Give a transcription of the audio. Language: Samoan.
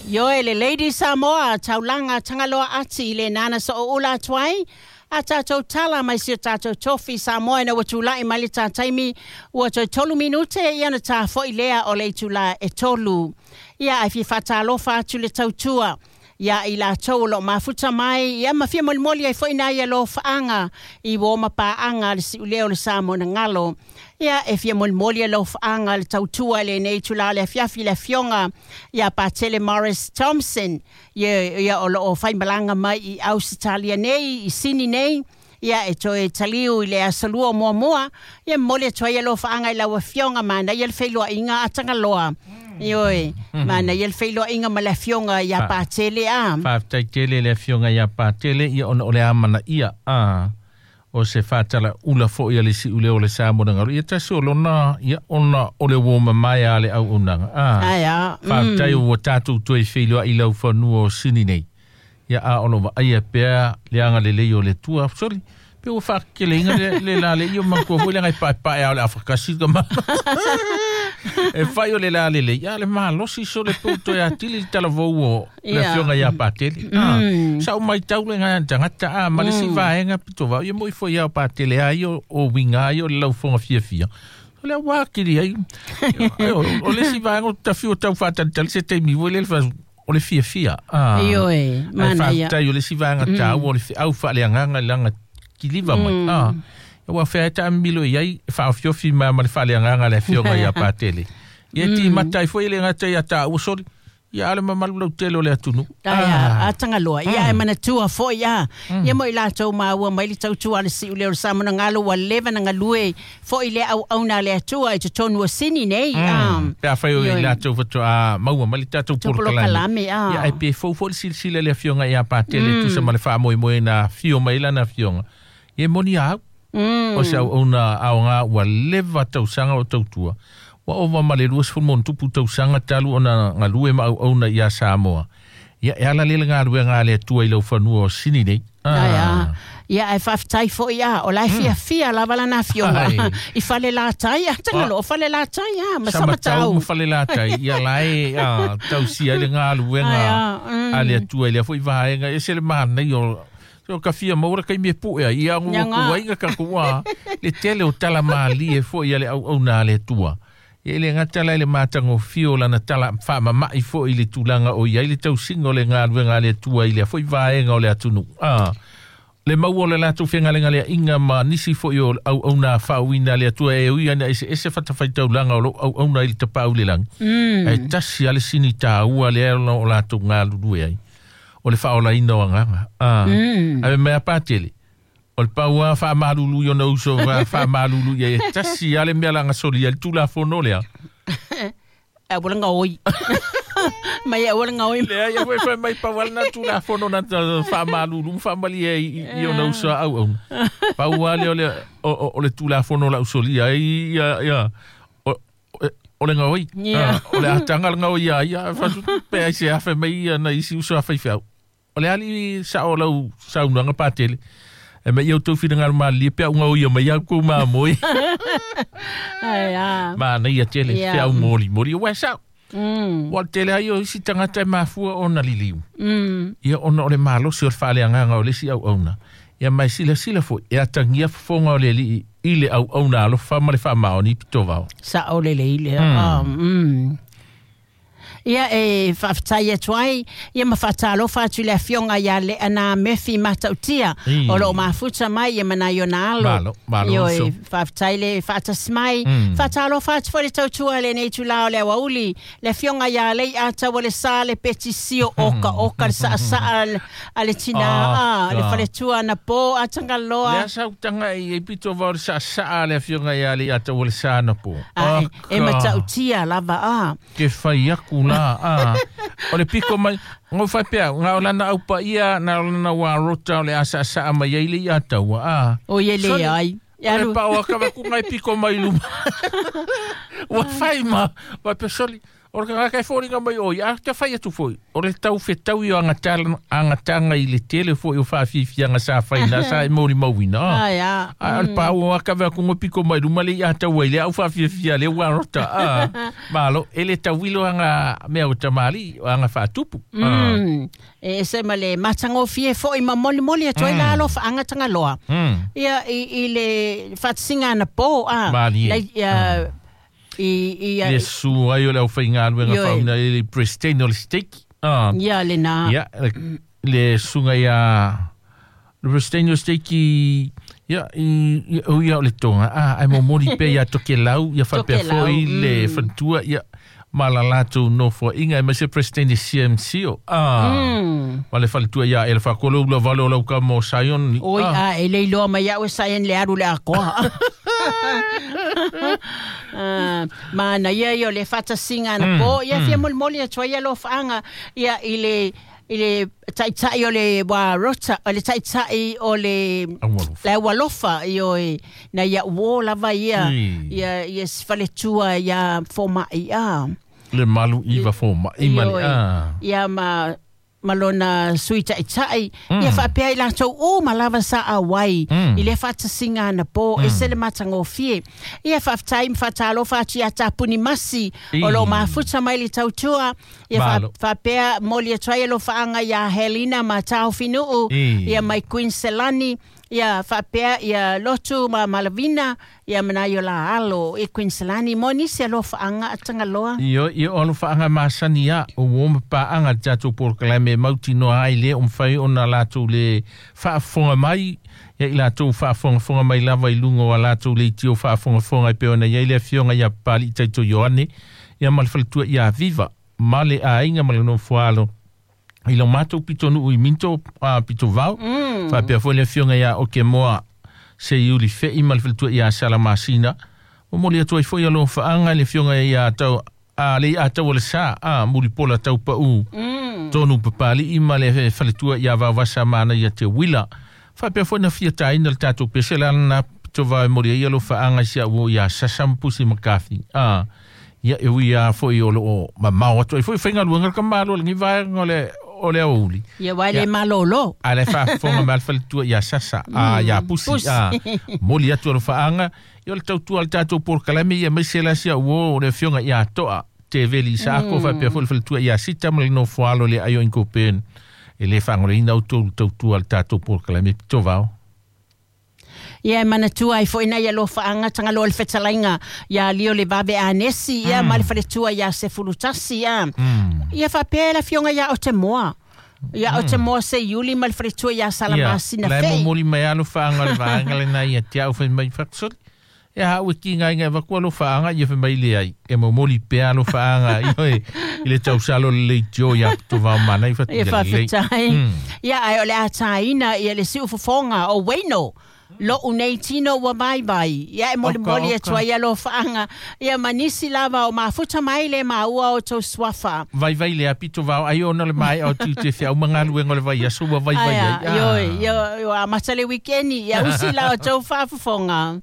Ioe le Lady Samoa taulaga Tagaloa Ati i le nana so'oula atu ai a tatou tala mai si o tatou tofi Samoa ina ua tula'i mai le tā taimi ua toe 3 minute ia ona tā fo'i lea o le itulā e 3. Ia ae fia faatalofa atu le tautua ia i latou o loo mafuta mai ia ma fia molimoli ai foi nai alofaaga i uo ma paaga a le siuleo o le Samoa na galo. Ia e fia molimoli alofaaga le tautua i lenei itulā o le afiafi i le afioga ia Patele Morris Thompson ia ia o loo faimalaga mai i Ausetalia nei i Sini nei ia e toe taliu i le aso lua o muamua ia momoli atu ai alofaaga i lau afioga manaia le feiloaiga a Tagaloa. Ioe, manaia le feiloaiga ma le afioga ia Patele a. Faafetai tele le afioga ia Patele ia ona o le amanaia a o se faatalaula fo'i a le si'uleo o le Samoa na galu ia tasi o lona ia ona o le uo mamae a le auaunaga a. Ai a. Faafetai ua tatou toe feiloai i lau fanua o Sini nei ia a o lo vaaia pea le agalelei o le Atua. Soli, pe ua faakekeleina le le lalei o manatua foi le agai paepae a o le afakasi ka ma. E fai o le lalelei, a le malosi so le peu toe atili le talavou o le afioga ia Patele. Ah, sa o maitau le ngai tagata a ma le si vaega pito vau ia moi foi ia Patele ai o winga ai o le laufoga fiafia. O le ua kiri ai. O le si vaega o tafi o tau whaatalitali se taimi foi le o le fiafia. Ah. Ioe, mana ia. Faafetai o le isi vaega taua o le feau faaleagaga i laga kiliva mai. Ah. Ua fea e taamilo i ai e faaofiofi ma ma le faaleagaga le afioga ia Patele. Ia timata ai foi le gata ia taua soli. Ia ale mamalu lautele o le atunuu. Ai a, a Tagaloa. Ia e manatua foi a. Ia mo i latou maua mai le tautua a le siuleo o le Samoa na galo ua leva na galue foi le auauna a le Atua i totonu o Sini nei. A. Pe afai o i latou faatoa maua mai le tatou polokalame. Polokalame, a. Ia ai pe fou foi le silasila i le afioga ia Patele tusa ma le faamoemoe na afio mai lana afioga. Ia e moni a au. O se auauna aoga ua leva tausaga o tautua. Ua ova ma le 20 ma ono tupu tausaga talu ona galue ma auauna ia Samoa. Ia e ala lea le galuega a le Atua i lau fanua o Sini nei. Ai a. Ia ae faafetai foi a. O la e fiafia lava lana afioga. Ai. I fale latai a Tagaloa o fale latai a ma Samatau Samatau. ma fale latai ia la e a, tausia ai le galuega Ai a. a le Atua i lea foi vaega e se le manaia o o ka fia maua le taimi e pu'e ai ia Ia gu ngā. ku ai ka kua le tele o tala malie foi a le auauna a le Atua. Ia i le gata la i le matagofie o lana tala faamama'i foi i le tulaga o i ai le tausiga o le galuega a le Atua i lea foi vaega o le atunuu. Ah, le maua o le latou fegalegaleaʻiga ma nisi foi o auauna faauina a le Atua e ui ana eseese fatafaitaulaga o lou auauna i le tapaau i le lagi. Ae tasi a le sini tāua lea ona o latou galulue ai. O le faaolaina o agaga. Ah, ave mai a Patele. O le paua faamalulu i ona uso faamalulu ia e tasi a le mea laga solia i le tulafono lea. E ua gaoi. Mai e ua gaoi. Lea ia foi fai mai pau ale na tulafono na faamalulu ma faamalie ai i ona uso a auauna. Pau lava lea o le o le tulafono lau solia ai ia ia o le gaoi. Ia. Ah, o le ataga le gaoi ia ia fatu pe ai se afe mai ia na isi uso a faifeau. O le ali sa o lau saunoaga Patele. E mai au tau finagalo malilie pe au gaoi mai au kou mamoe. Ai a. Manaia tele Ia. feau molimoli. Ua e sao. Ua tele ai o isi tagata e mafua ona liliu. Ia ona o le malosi o le faaleagaga o le isi auauna. Ia mai silasila foi e atagia fofoga o le alii i le auauna alofa ma le faamaoni i pitovao. Sa o le lei lea. Ia e faafetai atu ai ia ma faatalofa atu i le afioga ia Leana Mefi Matautia Ī. o loo mafuta mai ia manai ona alo. Malo, malo Ioe, uso. faafetai le faatasi mai. Faatalofa atu foi le tautua i lenei itulā o le aoauli le afioga ia Leiataua le Sa le Petisio oka oka le saasaa a le tinā Ah, a le ah. faletua na po a Tagaloa. Lea sautaga i e pitovao le saasaa a le afioga ia Leiataua le Sa na po. A, e Aka. matautia lava a. Ke fai aku la a. O le piko mai ngo fai pea ngā o lana au paia na o lana wā rota o le asaasaa mai ai le Iataua a. O ie le Soli, ai. O le pao a kava ku ngai piko mai luma. Ua fai ma, vai pe soli. O le tagata e foliga mai o ia te fai atu foi. O le tau fetau i o agatanga i le tele foi o faafiafiaga sa faina sa e molimauina. Ai a. A o le pau a kave aku piko mai luma le ia tau ai le au faafiafia le ua rota. Malo, e le tauilo anga mea o tamali, o anga faatupu. E se ma le matagofie foi ma molimoli atu ai la alofaaga Tagaloa. Ia i le faatasiga anapo a. Malie. I le su ai o le aufaigaluega fauna i le president o le stake. Ia lena. Ia, le suga ia le president o le stake ia i o ia o le tonga. Ai momoli pe ia Tokelau, ia faapea foi le faletua ia ma la latou nofoaiga e ma se president CMC o. Ma le faletua ia e le faakolo ula vale o lau ka mo Sion. Oi a e le iloa mai au e Sion le alu le akoa. Ma na ia ia o le faatasiga anapo ia fia molimoli atu ai alofaaga ia i le taitai o le wa rota o le taitai o le le aualofa ioe na ia uō lava ia ia ia faletua ia fomaʻi a le malu iva fomaʻi ma le ia ma lona sui taitai ia faapea i latou uma lava sa auai i le faatasiga anapo e se le matagofie ia faafetai ma faatalofa atu ia Tapuni Masi o loo mafuta mai le tautua ia faapea moli atu ai alofaaga ia Helena ma Taofinuu ia mai Queen Selani ia faapea ia Lotu ma Malavina ia mana i o la alo i Queen Selani mo nisi alofaaga a Tagaloa. Io io alofaaga masani ia o uo ma paaga le tatou polokalame mautinoa ai le o mafai ona latou le faafofoga mai ia i latou faafogafoga mai lava i luga o a latou leitio faafogafoga e pei ona iai le afioga ia Papali'i Taito Ioane ia ma le faletua ia Viva ma le aiga ma le nofoalo i lo matou pitonuu i Minto Pitovao faapea foi le afioga ia Okemoa se iuli fei ma le faletua ia Salamasina o moli atu ai foi alofaaga le afioga ia tau a le ia tau o le sa a mulipola tau pau tonu Papali'i ma le faletua ia Vaovasa mana ia Te Wila faapea foi na fia taina le tatou pese le alana Pitovao e moli ai alofaaga si au ia Sasampusi Makafi ia e ui a foi o loo mamao atu ai foi faigaluega le kamalo le vaega o le aouli. Ia wai le malolo. A le faafofoga ma le faletua ia Sasa ia Pusi moli atu alofaaga ia o le tautua le tatou polokalame ia maise la sia uo o le afioga ia Toa Teveli Saako faapea foi le faletua ia Sita ma le nofoalo le aio Inkopen e le faagolaina outou tautua le tatou polokalame Pitovao. Ia e manatua ai foi na ia alofaaga Tagaloa le fetalaiga ia lio le vave anesi ia ma le faletua ia Sefulutasi ia. Ia faapea le afioga ia Otemoa. Ia Otemoa se Iuli ma le faletua ia Salamasina fei. Ia, la e momoli mai alofaaga le vaega lena ia te au fai mai faksoli. E hau e ki ngai ngai vaku alofaaga ia fai mai le ai. E momoli pea alofaaga i le tausalo le leitio ia Pitovao mana i Ia faafetai. Ia ai o le ataina ia le siufofoga o Waino. Lo unei tino ua vai vai. Ia e moli moli atu ai alofaaga. Ia manisi lava o mafuta mai le maua o tau suafa. Vai vai le Pitovao ai ona le mai o tu te whiau mangaluenga o le vai aso ua vai vai ai. Io, io, a mata le weekendi. Ia usi la o tau faafofoga.